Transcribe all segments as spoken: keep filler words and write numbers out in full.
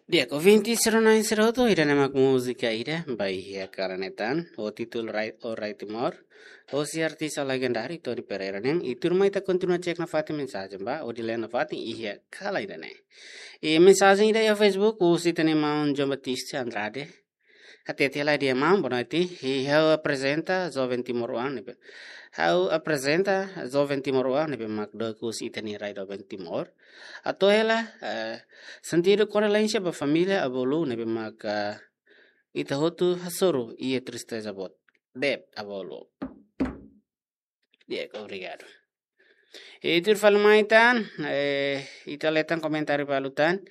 Di'ak, ouvinte sira-na'in sira hotu, ida-ne'e mak múzika ida ba iha kalan ne'e tan, ho títulu Rai-, O Rai Timor, hosi artista legendáriu Tony Pereira nian, i tuirmai ita kontinua cek nafatin mensajen ba, hodi lee nafatin iha kalan ida-ne'e. I mensajen ida iha Facebook, husi ita-nia maun João Batista Andrade, hatete lai dehan: Maun, boa noite. I ha'u aprezenta joven timoroan ne'ebé. Ha'u aprezenta joven timoroan ne'ebé mak dook husi ita-nia rai doben Timor. Atu hela, eh, sentidu kondolénsia ba família avó Lu ne'ebé mak, eh, ita hotu hasoru iha tristeza boot. Dep avó Lu. Di'ak, obrigadu. I tuir fali mai tan, eh, ita lee tan komentáriu balu tan.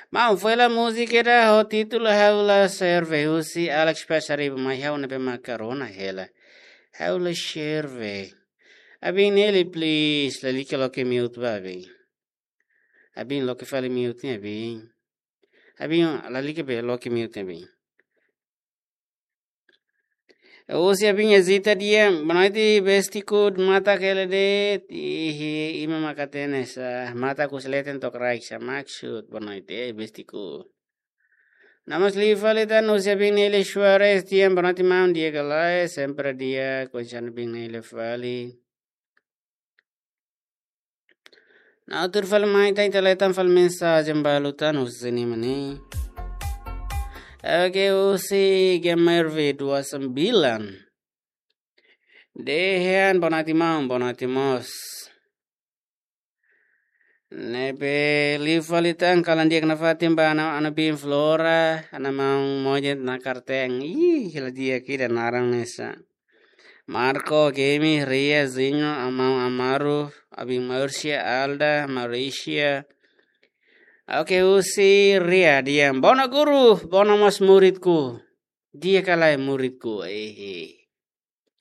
Maun, foin hela múzika ida ho títulu Ha'u La Serve husi Alex Pessariba, mai ha'u ne'ebé mak rona hela. Ha'u La Serve. Abin Nelly, please, lalika loke mute ba abin. Abin loke fali mute ne'e abin. Abin lalika be loke mute ne'e abin. Husi abin Ezita dehan: Boa noite, bestiku, matak hela de'it. Ihi, imi mak hatene sá, matak husi leten to'o kraik, sá maksud boa noite, eh, bestiku. Namas liu fali tan husi abin Nelly Suarez dehan: Boa noite, maun, di'ak ka lae? Sempre di'ak, konsan abin Nelly fali. Nah, tuir fali mai tan, ita lee tan fali mensajen balu tan husi ne'e mak ne'e. Oke, husi Gamer V dua sembilan. Dehan: Boa noite, maun, boa noite mós. Ne'ebé liu fali tan, kalan di'ak nafatin ba ana, ana bin Flora, ana maun Mojet na Karteng. Ih, hela di'ak ida naran ne'e sá. Marco, Gemi, Ria, Zinho, Amau, Amaru, abin Márcia, Alda, Mauricia. Oke, husi Ria dehan: Bona guru, bona mós muridku. Di'ak ka lae muridku, ehe.